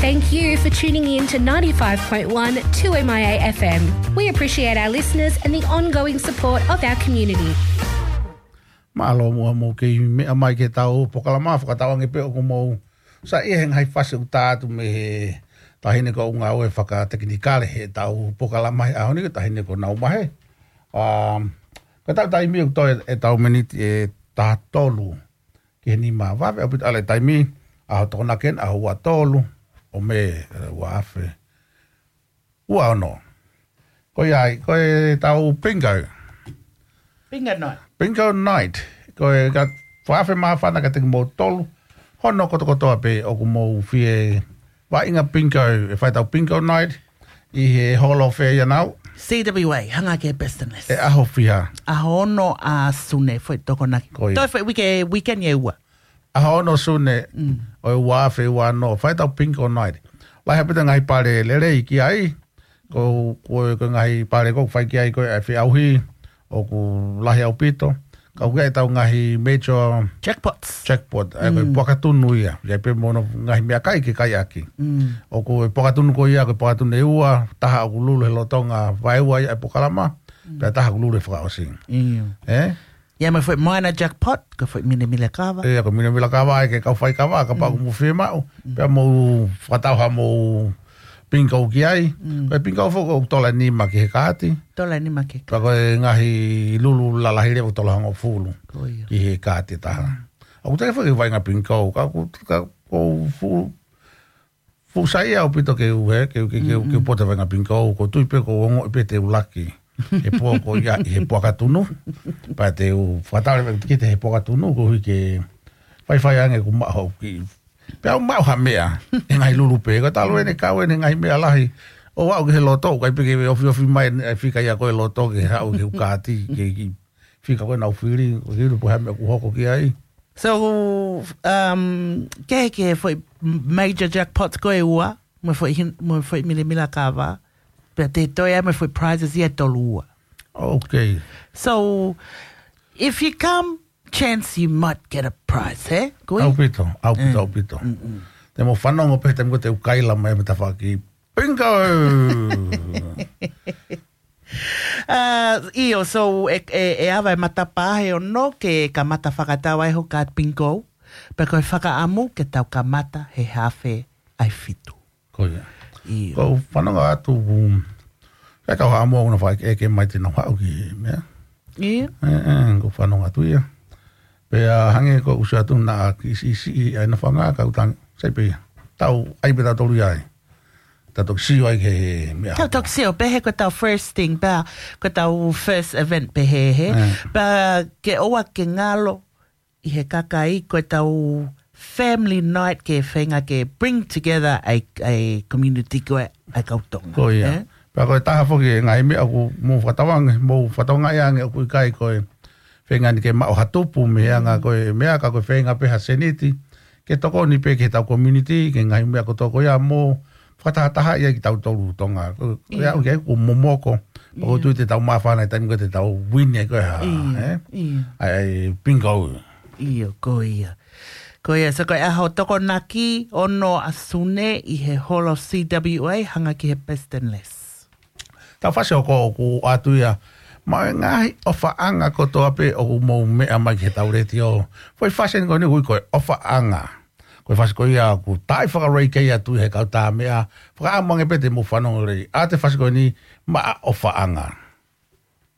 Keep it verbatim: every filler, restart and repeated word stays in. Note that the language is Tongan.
Thank you for tuning in to ninety-five point one two M I A F M. We appreciate our listeners and the ongoing support of our community. Mālō muʻa mou kei meʻa mai ki heʻetau polokalama, fakatauange pē ʻoku mou saiʻia he ngaahi fasi ʻoku tā atu mei he taʻahine ko ʻUnga ʻo e fakatekinikale heʻetau polokalama he ʻaho ni, ko e taʻahine ko Naumahe. Um, ko ʻetau taimi ʻoku toe ʻetau miniti ʻe taha tolu ki he nima. Vave ʻaupito ʻa e taimi, ʻaho Tokonaki eni, ʻaho ua tolu ʻo Mē, ua afe ua ono. Ko ia ai, ko ʻetau bingo. Bingo night. Bingo night. Ko e ka fakafe māfana kiate kimoutolu hono kotokotoa pē ʻoku mou fie vaʻinga bingo, ʻe fai ʻetau bingo night ʻi he holo fē ia nau? C W A, hanga ki he Best and Less. ʻE ʻaho fiha? ʻAho ono ʻa Sune, foʻi Tokonaki. Ko ia. Toe foʻi uike, weekend ʻe ua. ʻAho ono Sune, mm, ʻo e ua afe ua ono, fai ʻetau bingo night. Lahi ʻaupito ngaahi pale lelei ki ai, ko, ko, ko e ngaahi pale ʻoku fai ki ai ko e feʻauhi, ʻoku lahi ʻaupito. Ka ʻoku ʻi ai ʻetau ngaahi major jackpots. Jackpot, ʻa ia ko e, mm, puaka tunu ia. ʻI ai pē mo hono ngaahi meʻakai ke kai ʻaki. Mm. ʻOku ʻi ai e puaka tunu ko ia, ko e puaka tunu ʻe ua, taha ʻoku lulu he lolotonga vaeua ia ʻa e polokalama, mm, pea taha ʻoku lulu he fakaʻosi. ʻIo. Ē? ʻI ai mo e foʻi moana jackpot, ko e foʻi milemila kava. ʻIo, ko e milemila kava, ʻa ia ke kau fai kava, kapau, mm, ʻoku mou fiemaʻu. Mm. Pea mou fakatau haʻamou bingo ki ai. Mm. Ko e bingo foki ʻoku tola nima ki he kaati. Tola nima ki he kaati. Pea ko e ngaahi lulu lalahi leva ʻoku tola hongofulu. Ko ia. Ki he kaati ʻe taha. Mm. ʻOku teʻeki foki ke vaʻinga bingo, ka ʻoku, ka ʻoku fuʻu fuʻu saiʻia ʻaupito ke u, ē, ke u, ke, ke u, mm, ke u pote vaʻinga bingo, ʻoku ou tui pē ʻoku ou ongoʻi pē te u laki he pō ko ia ʻi he puaka tunu. Pea te u fakatau leva ki he puaka tunu, koeʻuhi ke faifai ange ʻoku maʻu haʻaku kiʻi, pea u maʻu ha meʻa, ʻi he ngaahi lulu pē, ko e talu eni, kau eni ngaahi meʻa lahi, ʻo aʻu ki he loto, ʻikai pē ke ofiofi mai ʻa e fika ia ko e loto ke haʻu ki he kaati, ke, ke fika ko ē naʻa ku fili, ko e kilu pē ha meʻa ʻoku hoko ki ai. So, um, ke, ke foʻi major jackpots ko e ua, mo e foʻi hin-, mo e foʻi milemila kava, pea te toe ʻi ai mo e foʻi prizes ia ʻe tolu ua. Okay. So, if you come, chance you might get a prize, he? Ko ia? ʻAupito, ʻaupito, mm, ʻaupito. Mm, mm. Te mou fanongo pē he taimi ko ē te u kaila mai mei he tafaʻaki. Bingo! Uh, ʻio, so, ʻe, ʻe, ʻe ava e matapā he ono ke kamata fakatau ai ho kaati bingo, pea ko e fakaʻamu ke tau kamata he afe ʻe fitu. Ko ia. ʻIo. Ko u fanongo atu, um, ʻe kau ha mo una fai ke, ke mai te nau haʻu ki he meʻa. ʻIo. ʻE, ʻe, ko u fanongo atu ia. Pea hangē ko u ʻosi atu naʻa ke ʻisiʻisiʻi ʻa e nofo ʻa e ngaahi kautanga, sai pē ia. Tau, ʻai pē tautolu ia ai. Tau toki sio ai ki he meʻa. Tau toki sio, pehē ko ʻetau first thing, pea ko ʻetau first event pehē, he. Mm. Pea ke ʻoua ke ngalo ʻi he kakai ko ʻetau family night ke feinga ke bring together ʻa e, ʻa e community ko ē ʻa e kau Tonga. Ko ia. Eh? Pea ko e taha foki e ngaahi meʻa ʻoku mou fakatauange, mou fakatauange ange ʻoku ʻikai ko e feinga ni ke maʻu ha tupu mei he anga, mm, ko e meʻa ka ko e feinga pē ha seniti ke tokoni pē ki heʻetau community, ki he ngaahi meʻa kotoa ko ia mo fakatahatahaʻi ai kitautolu Tonga. Ko, ko ia, ʻio, ʻoku ʻikai ʻoku momoko. Pea ʻoku, ʻio, tui te tau māfana he taimi ko ē te tau win ai ko e hā, ʻio, eh? ʻIo. ʻAi, ʻai, bingo. ʻIo, ko ia. Ko ia, so ko e ʻaho Tokonaki ono ʻa Sune ʻi he Hall of C W A, hanga ki he Best and Less. Tau fasi ʻoku ou ʻatu ia, mo e ngaahi ʻofaʻanga kotoa pē ʻoku mou meʻa mai ki heʻetau letiō. Foʻi fasi eni ko eni ʻoku ui ko e ʻofaʻanga. Ko e fasi ko ia ʻoku taaʻi fakalelei kei atu he kau tā meʻa, fakaʻamu ange pē te mou fanongo lelei ʻa e fasi ko eni maʻa ʻofaʻanga.